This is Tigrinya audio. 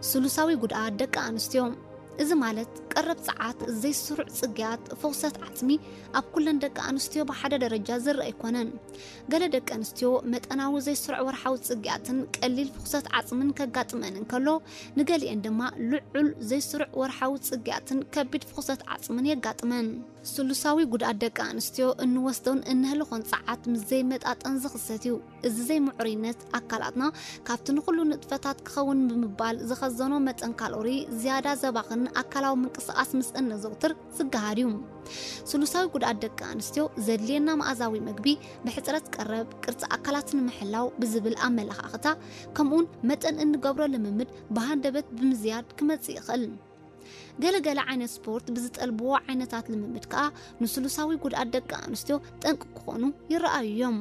ስሉሳዊ ጉድኣት ደቂ ኣንስትዮ። እዚ ማለት ቀረብ ጸዓት፣ ዘይስሩዕ ጽግያት፣ ፍኹሰት ዓጽሚ ኣብ ኩለን ደቂ ኣንስትዮ ብሓደ ደረጃ ዝረአ ኣይኮነን። ገለ ደቂ ኣንስትዮ መጠናዊ ዘይስሩዕ ወርሓዊ ጽግያትን ቀሊል ፍኹሰት ዓጽምን ከጋጥመን እንከሎ፣ ንገሊኤን ድማ ልዑል ዘይስሩዕ ወርሓዊ ጽግያትን ከቢድ ፍኹሰት ዓጽምን የጋጥመን። ስሉሳዊ ጉድኣት ደቂ ኣንስትዮ እንወስዶን እንህልኾን ጸዓት ምስ ዘይመጣጠን ዝኽሰት እዩ። እዚ ዘይምዕሩይነት ኣካላትና ካብቲ ንኹሉ ንጥፈታት ክኸውን ብምባል ዝኸዘኖ መጠን ካሎሪ ዝያዳ ዘባኽን ኣካላዊ ምንቅስቓስ ምስ እነዘውትር ዝገሃድ እዩ። ስሉሳዊ ጉድኣት ደቂ ኣንስትዮ ዘድልየና መኣዛዊ መግቢ ብሕጽረት ቀረብ፣ ቅርጺ ኣካላት ንምሕላው ብዝብል ኣመለኻኽታ፣ ከምኡውን መጠን እንገብሮ ልምምድ ብሃንደበት ብምዝያድ ክመጽእ ይኽእል። ገለገለ ዓይነት ስፖርት ብዝጠልብዎ ዓይነታት ልምምድ ከኣ ንስሉሳዊ ጉድኣት ደቂ ኣንስትዮ ጠንቂ ክኾኑ ይረኣዩ እዮም።